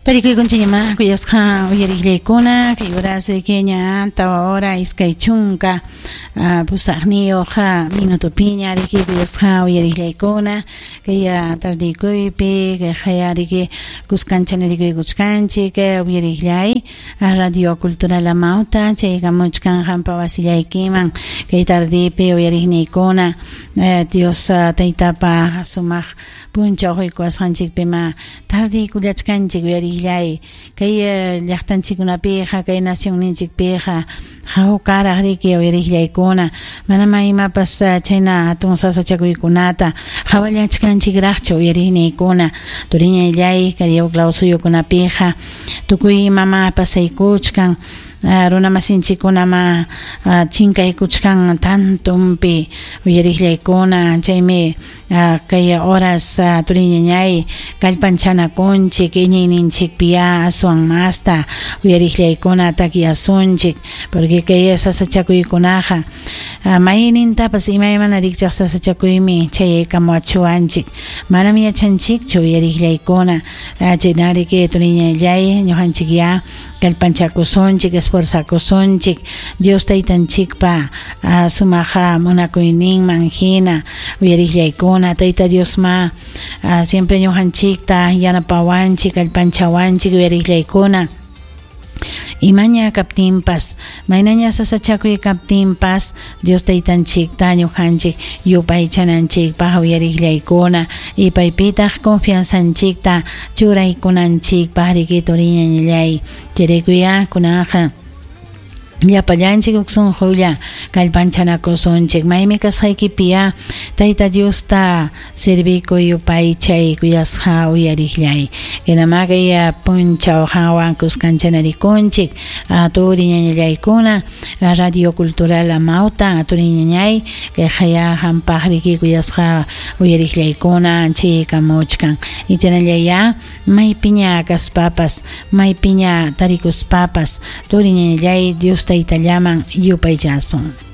Tarikuykunchikñamá kuyasqa uyariqllaykuna kay horas riki ña 4 hora 28 minutopiña riki kuyasqa uyariqllaykuna kay tardikuypi kay qaya riki kuskancha rikuykuchkanchik uyariqllay Radio Cultural Amauta chaykamuchkan qampa wasillaykiman kay tardipi uyariqniykuna Dios taytapa sumaq punchaw quykuwasqanchikpima tardiykullachkanchik uyariqllay kay llaqtanchikkunapiqa kay nacionninchikpiqa hawkaraq riki uyariqllaykuna manama imapas chayna hatun sasachakuykunata qhawallachkanchikraqchu uyariqniykuna turiñayllay kay huk suyukunapiqa tukuy imama pasaykuchkan runamasinchikkunama chinkaykuchkan tantumpi uyariqllaykuna chaymi kay horas turiñañay kallpanchanakunchik iñiyninchikpiya aswan masta uyariqllaykuna takyasunchik porque kay sasachakuykunaqa maynintapas imaymana rikchaq sasachakuymi chayaykamuwachuwanchik manam yachanchikchu uyariqllaykuna chaynariki turiñallay ñuqanchik ya kallpanchakusunchik esforzakusunchik Dios taytanchikpa sumaq munakuyninman hina uyariqllaykuna Tayta Diosma siempre ñuqanchikta yanapawanchik kallpanchawanchik uyariqllaykuna imaña kaptinpas maynaña sasachakuy kaptinpas Dios taytanchikta ñuqanchik yupaychananchikpaq uyariqllaykuna y paypitaq confianzanchikta churaykunanchikpaq riki turiñañallay chayraykuya kunaqa llapallanchik huk sunqulla kallpanchanakusunchik maymi kasqaykipiya Tayta Diosta servikuy yupaychay kuyasqa uyariqllay hinama kay punchaw qanwan kuskanchanarikunchik turiñañallaykuna Radio Cultural Amauta turiñañay kay qaya qampaq riki kuyasqa uyariqllaykuna chaykamuchkan ichanallaya maypiña kaspapas maypiña tarikuspapas turiñañallay Dios taytallaman yupaychasun.